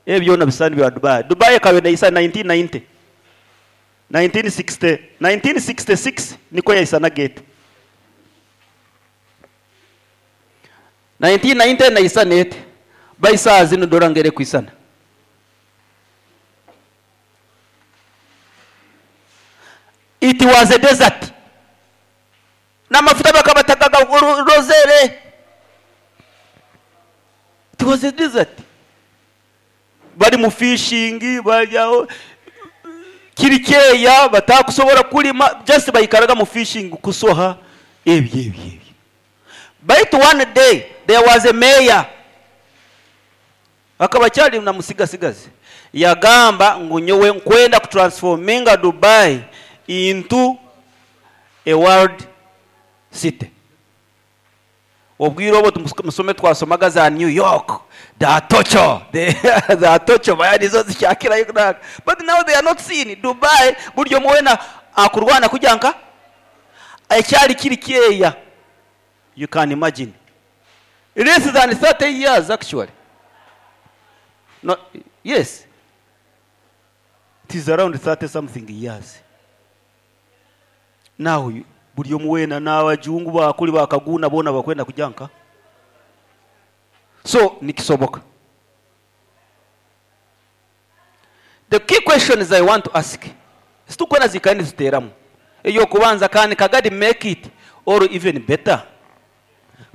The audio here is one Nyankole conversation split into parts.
Ebyo byona bishushani bya Dubai. Dubai ekaba neisana 1990, 1960, 1966 nikwo yaisanaga eti. 1990 neisana eti, by saaha zinu dora ngu erikwisana. It was a desert. N'amafuta bakaba batakagarozere. It was a desert. Bari mu fishing, bari aho kiri kyeya batakusobora kulima just baikaraga mu fishing kusoha ebyo ebyo ebyo. Baitu one day there was a mayor akaba akyali na musigasigazi yagamba ngu nyowe nkwenda kutransforminga Dubai into a world city. Obwire obwo musome twasomaga za New York, za Tokyo, za Tokyo manya nizo zikyakirayo kunanka. But now they are not seen. Dubai buri omwe weena akurwana kugya nka ekyari kiri kyeya. You can imagine. Less than 30 years actually. No, yes. It is around 30 something years. Now buri omwe weena n'abajungu bakuri bakaguuna boona bakwenda kugya nka. So nikisoboka. The key questions I want to ask, ziturikwenda zikare niziteeramu. Ey'okubanza, can Kagadi make it or even better?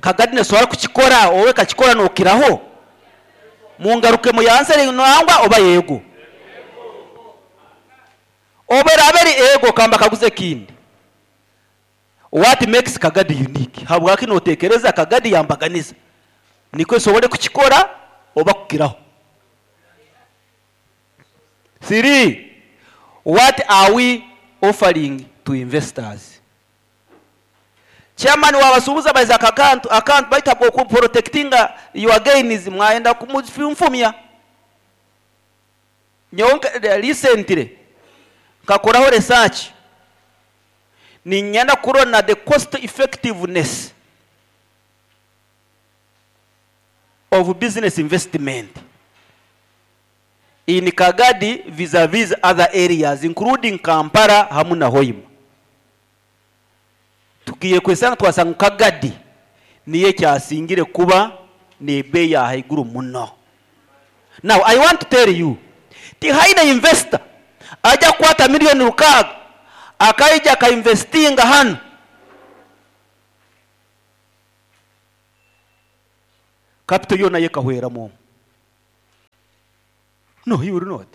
Kagadi nesobora kukikora oba ekakikora nokiraho? Mungaruke muyansere nangwa oba yego. Obu eraabe eri eego, ka mbakaguze ekindi. What makes Kagadi unique? Habwaki notekereza Kagadi yambaganiza? Nikwo esobole kukikora oba kukiraho. Three, what are we offering to investors? Chairman wabasuubuzi abaize akakantu akantu baitu habw'oku protectinga your gains mwayenda kumufunfumya. Nyowe recently nkakoraho research niinyenda kurora the cost effectiveness of business investment in Kagadi vis-a-vis other areas including Kampala hamu na Hoima. Tugiire kwesanga twasanga ngu Kagadi niyo ekyasingire kuba n'ebeeyi ahaiguru muno. Now I want to tell you, tihaine investor aija kukwata million rukaaga akaija aka investinga hanu capital yoona ye ekahweramu omu. No, he will not.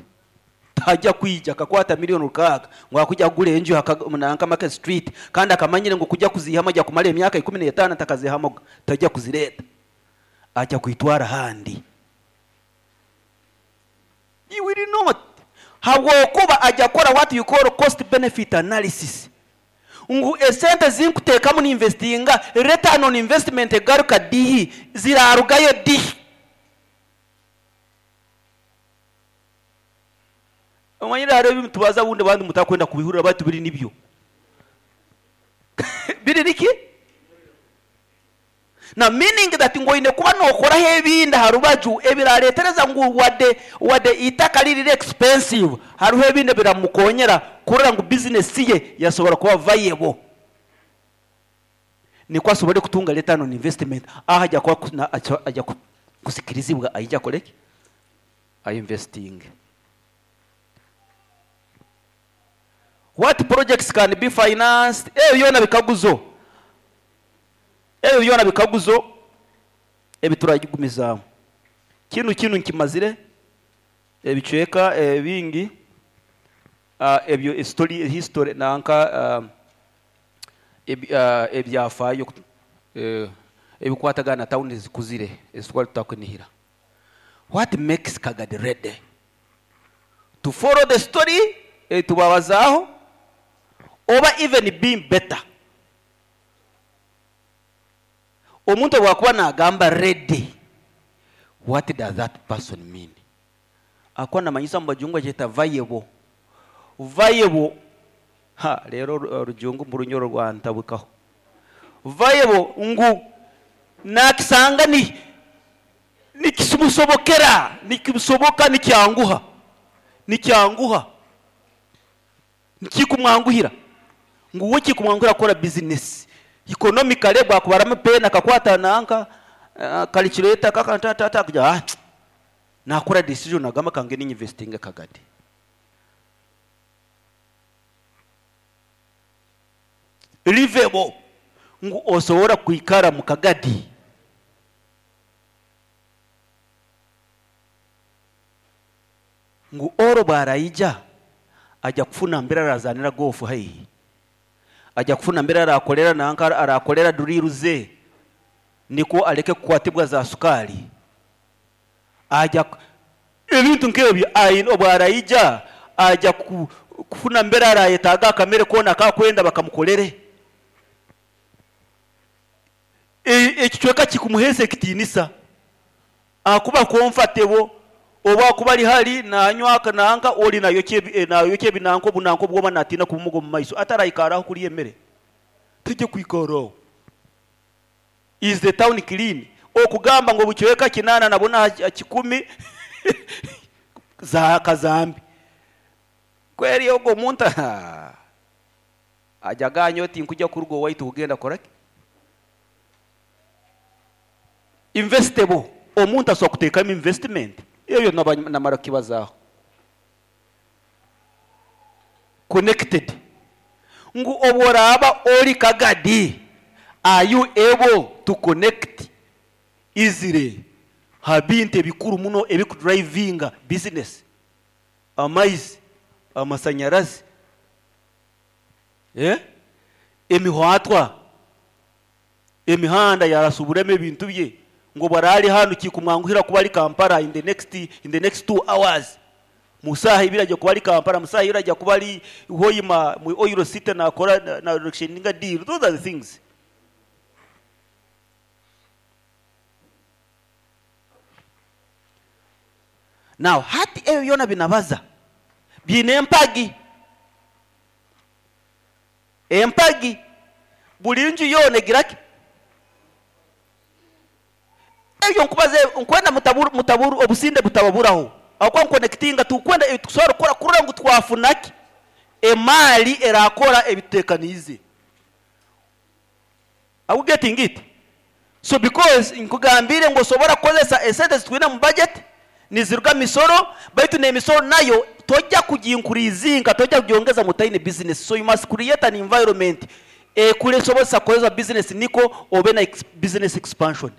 Taija kwija akakwata million rukaaga ngu akwija kugura enju aha nanka Market Street kandi akamanyire ngu kuja kuziihamu aija kumara emyaka 15 atakaziihamuga. Taija kuzireeta. Aija kwitwara ahandi. He will not. Habwokuba aija kukora what you call cost benefit analysis. Ngu esente zinkuteekamu ninvestinga, return on investment egaruka dihi? Ziraarugayo dihi? Omanyire hariho ebi nitubaza obundi abandi mutakwenda kubihurira baitu biri nibyo. Biri niki? Na meaning that ngu oine kuba nokoraho ebindi aha rubaju ebiraretereza ngu wade wade eitaka riri expensive hariho ebindi ebiramukonyera kurora ngu business ye yasobora kuba viable nikwo asobore kutunga return on investment aho aja kuba aja kusikirizibwa aije akore ki? A investinge. What projects can be financed? Ebyo byona bikaguzo. Ebyo byona bikaguzo ebi turagumizaamu. Kinu kinu nkimazire ebicweka ebingi ebyo story history nanka ebyafaayo ebikwatagana na tawuni ezikuzire ezitwali tutakunihira. What makes Kagadi ready to follow the story ei tubabazaaho oba even being better? Omuntu obu akuba naagamba ready, what does that person mean? Ahakuba namanyisa omu bajungu bakyeta viable. Viable, ha reero orujungu mbu runyoro rwantabukaho. Viable ngu naakisanga ni nikisoboka. Nikimusobokera, nikimusoboka, nikyanguha, nikyanguha, nikikumwanguhira ngu we kikumwanguhira kukora bizinesi economically bwakubaramu pen akakwata nanka calculator kakantatata kugira ah nakora decision agamba kange ninvestinga Kagadi. Livable ngu osobora kwikara mu Kagadi. Ngu oro bwaraija aja kufuna mbere arazanira golf haihi, aja kufuna mbere arakorera nanka arakorera drill ze niko aleke kukwatibwa za sukali, aja ebintu nk'ebyo aine obwaraija aja kufuna mbere arayetaaga akamere koona akakwenda bakamukorere. Ekicweka kikumuheesa ekitiinisa akuba comfortable oba akuba ari hari nanywa nanka ori nayokya ebinanka obunanka obwoma natiina kubumuga omu maiso ataraikaraho kurya emere tujye kwikaraho. Is the town clean? Okugamba ngu obucweka 8 nabona 10 za kazambi kweri ogwo omuntu aja ganya oti nkujya kuruga owaitu kugenda koraki investable. Omuntu asobola kuteekamu investment ebyo namara kukibazaho. Connected ngu obworaba ori Kagadi, are you able to connect easily ha bintu ebikuru muno ebikudrivinga business? Amaizi, amasanyarazi, emihwatwa, emihanda yarasuburemu ebintu bye ngo barari hano kikumwanguhira kuba ari Kampala in the next 2 hours, musaha ibiri ajya kuba ari Kampala, musaha ibiri ajya kuba ari Hoima mu Oil City nakora na na deal. Those are the things. Now hati ebyo byona binabaza biine empagi, empagi buli nju yoona egiraki ebyo nkubaze nkwenda mutaburu, mutaburu obusinde butababuraho akwa nkonectinga tukwenda tukusobora kukora kurora ngu twafunaki emali erakora ebitutekaniize. Are we getting it? So because nkugambire ngu osobora kukozesa esente zitwine mu budget niziruga misoro, baitu n'emisoro nayo tojja kugiinkurizinga, tojja kugyongeza mutaine business. So you must create an environment ekulesobozesa kukozesa business niko obe na business expansion.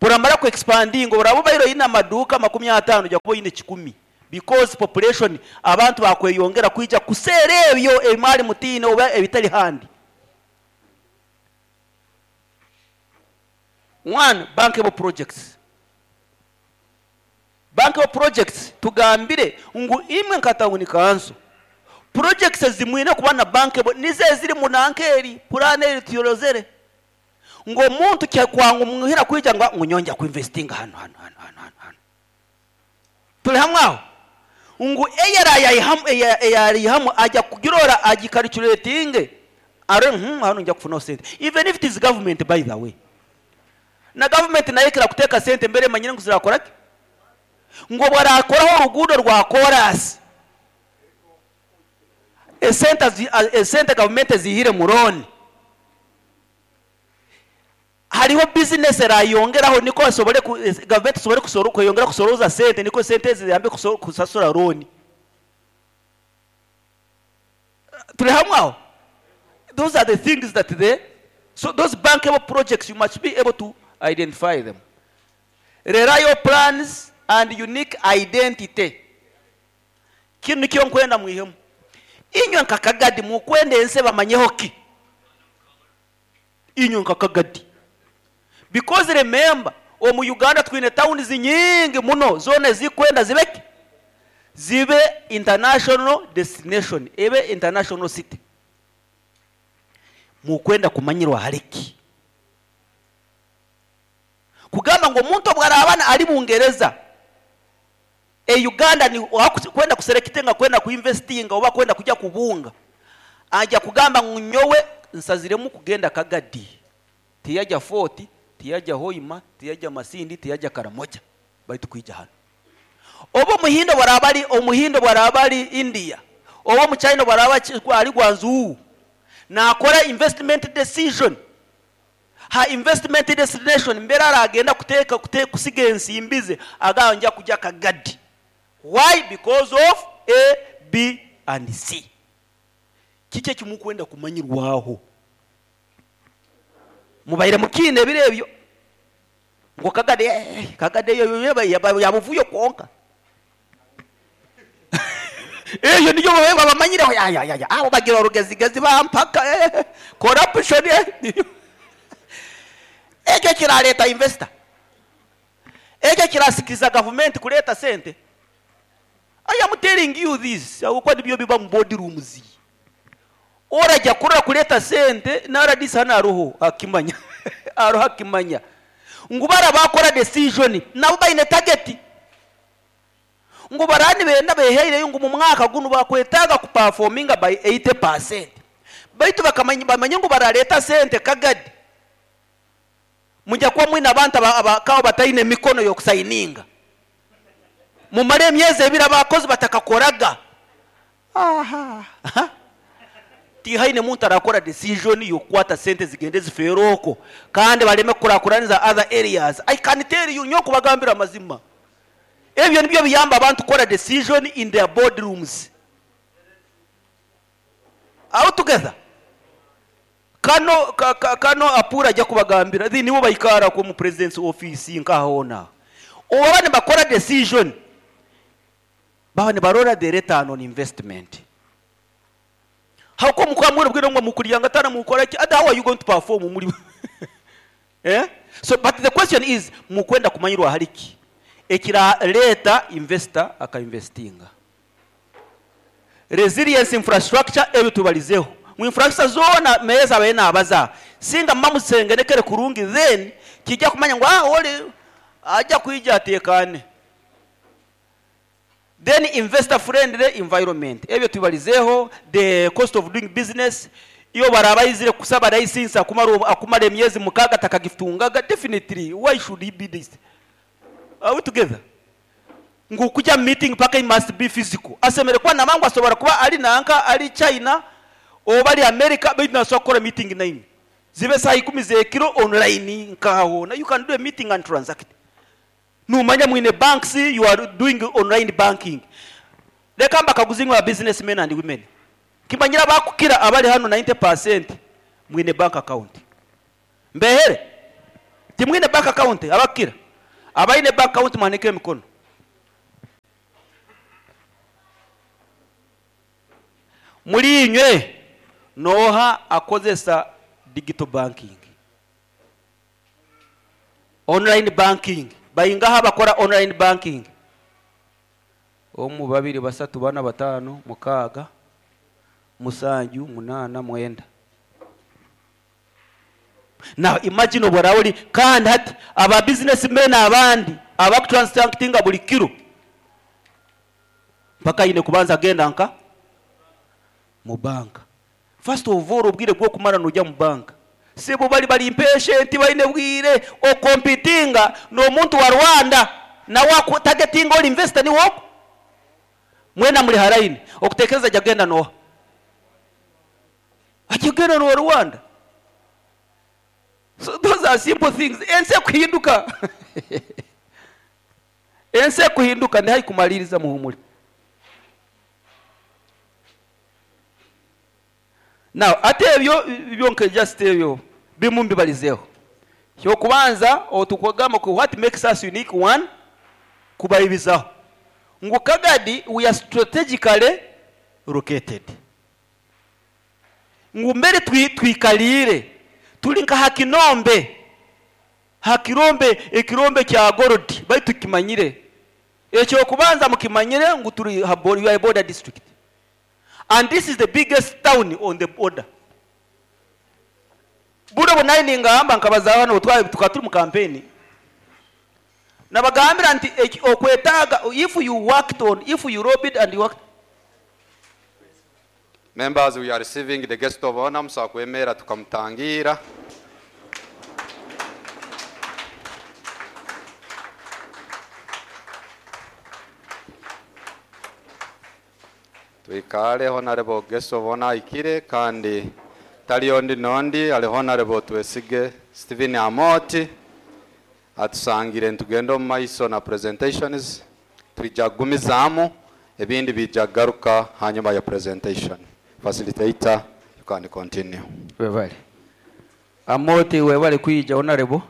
Buramara ku expanding oraba bairo ina maduka 50 ojja kuba oyine 10 because population abantu bakweyongera kwija kuseera ebyo emali mutiine oba ebitali handi. One, bankable projects. Bankable projects tugambire ngu imwe nka town council projects zimwine kuba na bankable nize ziri mu nankeri plan eri tuyolozere ngo omuntu kyangu muhira kwija ngo ngunyonja ku investing hano hano hano hano hano turi hamwe aho ngu eyara aja kugirora agikalculating are hano nja kufuna sente even if it is government, by the way na government nayo kira kuteka sente mbere manyine ngo zirakora ki ngo barakoraho urugudo rwa chorus esente government zihire muroni hariho business erayongeraho niko asobole government asobole kuyongera kusoroza sente niko sente ziyambe kusasura loan. Turi hamwe aho. Those are the things that they, so those bankable projects you must be able to identify them. Reliable plans and unique identity. Kinu nikyo nkwenda mwihemu. Inywe nka Kagadi mukwenda ense bamanyeho ki? Inywe nka Kagadi. Because remember, omu Uganda twine towns nyingi muno zone zikwenda zibeki zibe international destination, ebe international city. Mukwenda kumanyirwa hariki. Kugamba ngo omuntu obwarabana ari Bungereza e Uganda ni kwenda kuselectinga kwenda kuinvestinga oba kwenda kujya kubunga ajya kugamba ngo nyowe nsaziremu kugenda Kagadi, tiyajya Fort, tiyajya Hoima, tiyajya Masindi, tiyajya Karamoja, Baitu kwija hanu. Oba Omuhindi obu araaba ari Omuhindi obu araaba ari India, oba Omuchina obu araaba ari Guangzhou, naakora investment decision. Ha investment destination mbere araagenda kuteeka kute kusiga ensimbi ze, agamba nja kugya Kagadi. Why? Because of A, B and C. Kiki eki mukwenda kumanyirwaho? Mubaire mukiine ebiro ebyo ngu Kagadi eh, Kagadi eyo yo ya buvuyo kwonka. Eyo niyo babaire babamanyireho ya ya ya abo bagira orugezigezi bampaka eh, corruption eh. Ekyo kirareeta investor? Ekyo kirasikiriza gavumenti kureeta sente? I am telling you this ahabw'okuba nibyo biba omu board rooms. Oragya kurora kureeta sente na rdc hanu aruho akimanya aruho akimanya ngu bara bakora decision nabo baine target ngu baraba nibenda beheireyo ngu mumwaka gunu bakwetaaga ku performinga by 80% baitu bakamanya bamanye ngu barareeta sente kagadi Mwija kuba mwine abantu abakaba bataine mikono y'okusayininga. Mumare emyezi ebiri abakozi batakakoraga. Aha. Tihaine muntu arakora decision y'okukwata sente zigende zifeere okwo kandi bareme kukurakuraniza other areas. I can tell you, nyowe nkubagambira amazima. Ebyo nibyo biyamba abantu kukora decision in their board rooms. Are we together? Kano ka, ka, kano Apura aja kubagambira, thi nibo baikaara okwo omu President's office nkaha hoona aho. Obu baba nibakora decision, baba nibarora the return on investment. Habwokuba mukaba mwine obwire ngu mukuryangatana mukora ki, ati how are you going to perform muri eh? So but the question is, mukwenda kumanyirwa ahari ki ekirareeta investor aka investinga? Resilience infrastructure ebyo tubarizeho ngu infrastructure zoona meya ezabaire nabaza aha singa muba muzengenekere kurungi then kija kumanya ngu ah ori aja kwija atekane. Then investor friendly environment ebyo tubarizeho, the cost of doing business iwe obu araba aizire kusaba license akumara akumara emyezi mukaga atakagitungaga definitely why should he be this are we together? Ngu kugya mu meeting paka he must be physical. Asemeriire kuba namanya ngu asobora kuba ari nanka ari China oba ari America beitu nasobora kukora meeting naimwe. Zibe saaha ikumi z'ekiro online nkaha hoona you can do a meeting and transact. Nomanya mwine banks you are doing online banking. Reka mbakaguze inywe ba business men and women. Kimanyire abakukira abari hanu 90% mwine bank account. Mbehere? Timwine bank account abakukira? Abaine bank account muhanike emikono. Muri inywe noha akozesa digital banking? Online banking. Baingaha abakora online banking? Omu, babiri, basatu, bana, batano, mukaaga, musanju, munaana, mwenda. Now imagine obu oraabe ori kandi hati aba business men abandi abakutransactinga buri kiro mpaka aine kubanza agenda nka mu banka. First of all obwire bw'okumara noija mu banka sibo bari bari impatient baine bwire okompitinga n'omuntu wa Rwanda nawe aku targetinga ori investor niwe ogwo mwena muri ha line okutekereza aija kugenda nooha? Akigenda nowa Rwanda. So those are simple things. Ensi ekuhinduka. Ensi ekuhinduka ndi haihi kumaliriza muhumure. Now ate ebyo byonka just ebyo bimu mbibarizeho. Ekyokubanza otukugamba ku what makes us unique one kubaibizaho ngu Kagadi we are strategically located. Ngu mbere twikariire turi nka ha kinombe, ha kirombe, ekirombe kya gold, baitu tukimanyire. Eky'okubanza mukimanyire ngu turi ha we are a border district and this is the biggest town on the border. Buri obu nari ningamba nkabazaho hanu obu twaba tukaba turi mu campaign, nabagambira nti eki okwetaaga if you worked on, if you lobbied and you worked, Members, we are receiving the guest of honor, musobola kwemerra tukamutangiira. Twikale Honorable guest of honor ahikire kandi tari ondi n'ondi ari Honorable Twesige Stephen Amooti atusangire nitugenda omu maiso na presentations twija kugumizaamu ebindi biija kugaruka hanyuma ya presentation. Facilitator you can continue. Webale. Amooti webale kwija Honorable.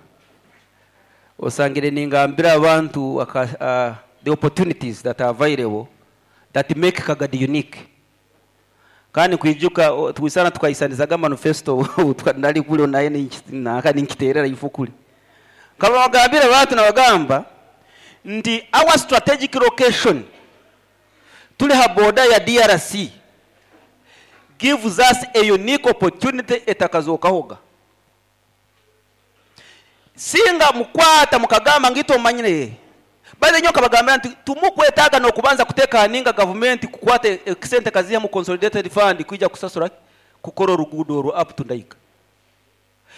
Osangire ningambira abantu aka, the opportunities that are available that make Kagadi unique. Kandi kwijuka twisana tukaisanizaga manifesto nali kuli naye naka ninkiterera ifo kuli. Kaba bagambira abantu nabagamba nti our strategic location tuli ha border ya DRC gives us a unique opportunity etakazokahoga. Singa mukwata mukagamba ngito manyire. Baze nyoka bagambira nti tumukwetaga no kubanza kuteka ninga government kukwata sente kaziya mu consolidated fund kuija kusasura kukora rugudo ru up to ndaika.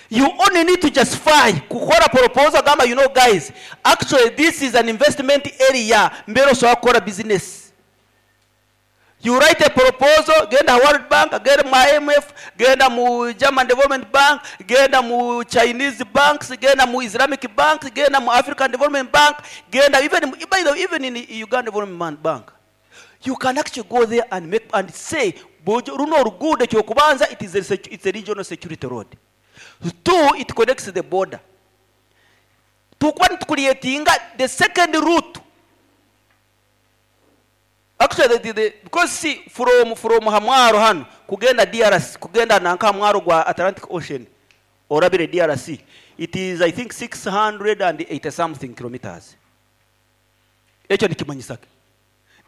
You only need to justify kukora proposal gamba, you know guys, actually this is an investment area mbero so akora business. You write a proposal, genda World Bank, genda mu IMF, genda mu German Development Bank, genda mu Chinese banks, genda mu Islamic Bank, genda mu African Development Bank, genda even, by the way, even in Uganda Development Bank. You can actually go there and make and say, Bojo, runo rugudo kyokubanza, it is a it's a regional security road. 2, it connects the border. Tukwa creating the second route. Actually, because see, from Hamwaro hano kugenda DRC, kugenda nanka Hamwaro gwa Atlantic Ocean, orabire DRC, it is I think 680 something kilometers. Echo nikimanyisa ke?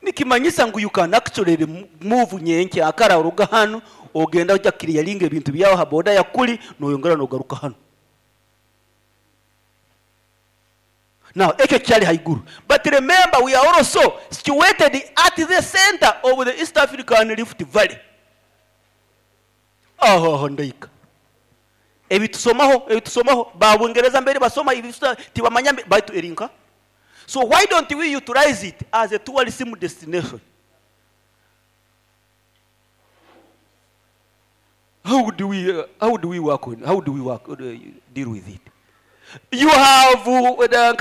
Nikimanyisa ngu you can actually move nyenke akara uruga hano ogenda ujya clearing ebintu byawo ha border ya kuli noyongera nogaruka hano. Now, ekyo kyali haiguru. But remember, we are also situated at the center of the East African Rift Valley. Aho, ndaika. Ebitusomaho, ebitusomaho, ba Bungereza mbere basoma ibisusa tibamanya baitu erinka. So why don't we utilize it as a tourism destination? How do we how do we work on, how do we work, deal with it? You have the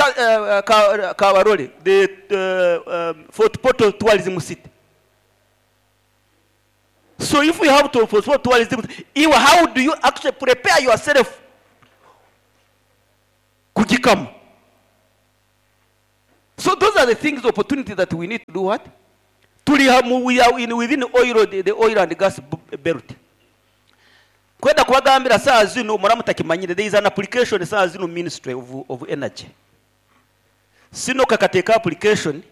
Kabarole, the Fort Portal tourism city. So if we have to for tourism, how do you actually prepare yourself? Kujikam. So those are the things, opportunity that we need to do what? We are in within oil, the oil and gas belt. Kwenda kubagambira saa zino muramutakimanyire, there is an application saa zino Ministry of Energy. Sino kakateka application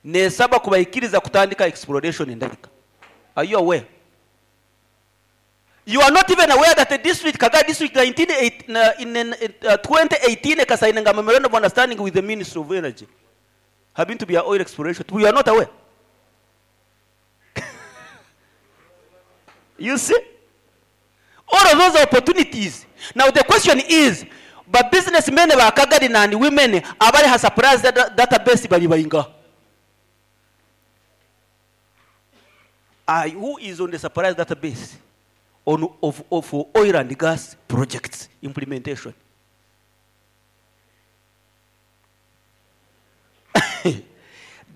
nesaba kubaikiriza kutandika exploration ndalika. Are you aware? You are not even aware that the district, Kagadi district, nineteen eight, na, in, in, in 2018, ekasayininga memorandum of understanding with the Ministry of Energy. Having to be an oil exploration. We are not aware. You see? All of those opportunities. Now the question is, but businessmen ba Kagadi and women abari ha surprise database bari bayinga. Who is on the surprise database on of, of for oil and gas projects implementation?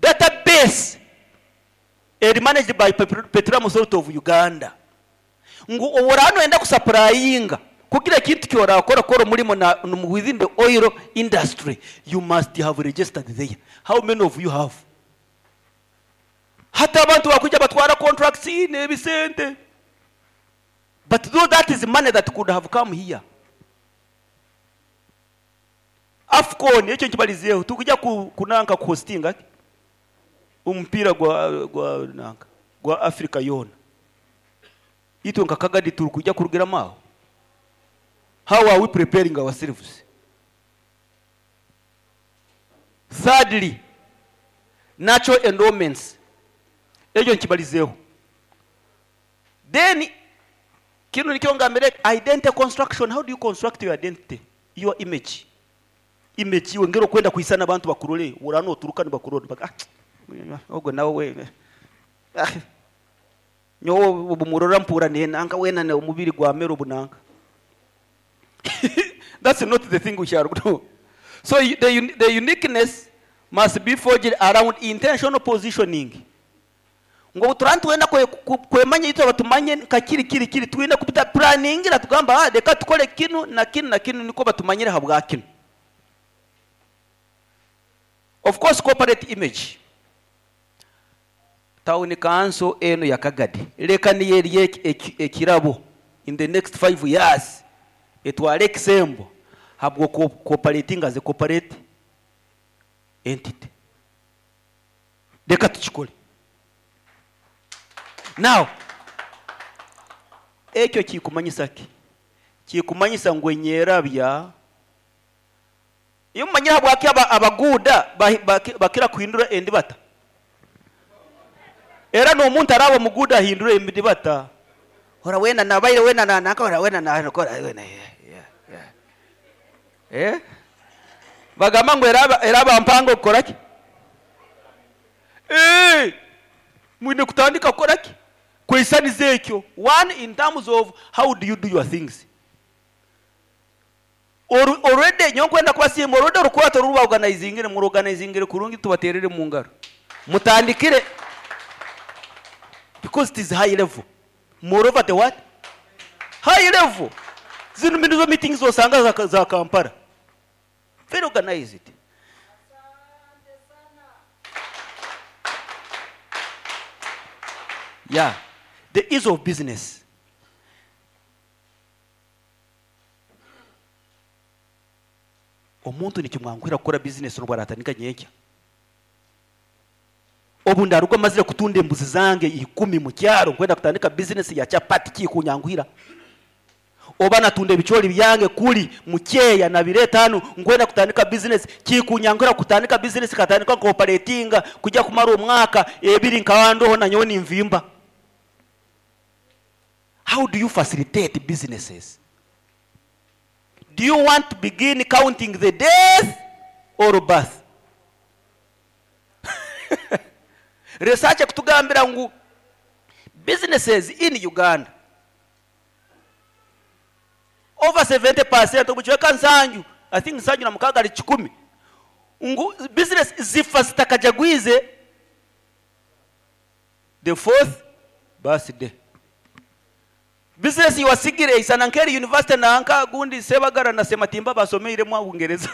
Database is managed by Petroleum Authority of Uganda. Ngu oworano enda kusupplyinga kugira kintu kyora kora kora mulimo na within the oil industry, you must have registered there. How many of you have? Hata abantu bakuja batwara contracts n'ebisente. But though that is money that could have come here. AFCON ekyo nkibalizeeho tukujja kunanka kuhostinga omupiira gwa nanka gwa Africa yona. Itwe nka Kagadi turi kujya kurugiramu aho. How are we preparing ourselves? Thirdly, natural endowments. Ekyo nkibalizeeho. Then kino nikyo ngambire identity construction. How do you construct your identity? Your image. Image iwe ngero kwenda kuisana abantu bakurole, urano oturuka ni bakurole. Baka, ogwo nawe we. Nyowe obu murora mpurra nenanka weena omubiri gwamera obunanka. That's not the thing we shall do. So the uniqueness must be forged around intentional positioning. Ngu obu turaba nitwenda kwemanya itwe batumanye nka kiri kiri kiri, twine kubita planningira tugamba, ah, reka tukore kinu na kinu na kinu nikwo batumanyire habwa kinu. Of course, corporate image. Town Council enu ya Kagadi reka niyo eri ekirabo in the next 5 years etware ekisembo habw'oku-operating as a corporate entity. Reka tukikore. Now, ekyo kikumanyisa ki? Kikumanyisa ngu enyerabya iyo mumanyire habwaki abaguuda bakira kuhindura endibata. Era n'omuntu araba omuguuda ahindura endibata. Ora wena nabaire wena nanaka ora wena nakora wena. Yeah. Eh? Bagamba ngu eraba mpango kukora ki? Eh! Mwine kutandika kukora ki? Kweisaniza ekyo. One, in terms of how do you do your things. Already nyowe nkwenda kubasiima, already orukwato oru baorganizingire, muruorganizingire kurungi, tubaterere mu ngaro. Mutandikire because it is high level. Moreover, the what? High level. Zino nizo meetings osanga za Kampala. Very organized. Yeah. The ease of business. Omuntu nikimwanguhira kukora business n'obu aratandika nyenkya. Obu ndaruga mazire kutunda embuzi zange 10 mu kyaro nkwenda kutandika business ya chapati kikunyanguhira. Oba natunda ebichori byange kuli mukyeya na bireta hano nkwenda kutandika business kikunyanguhira kutandika business katandika cooperatinga kujya kumara omwaka ebiri nkawandoho na nyowe nimvimba. How do you facilitate businesses? Do you want to begin counting the death or birth? Research kutugambira ngu businesses in Uganda over 70% obuchweka nsanju, I think nsanju na mukaga ali 10, ngu business zifa zitakajagwize the fourth birthday. Business iwasigire isana nkeri university na anka gundi Sebagara na Sematimba basomeire mwa Bungereza.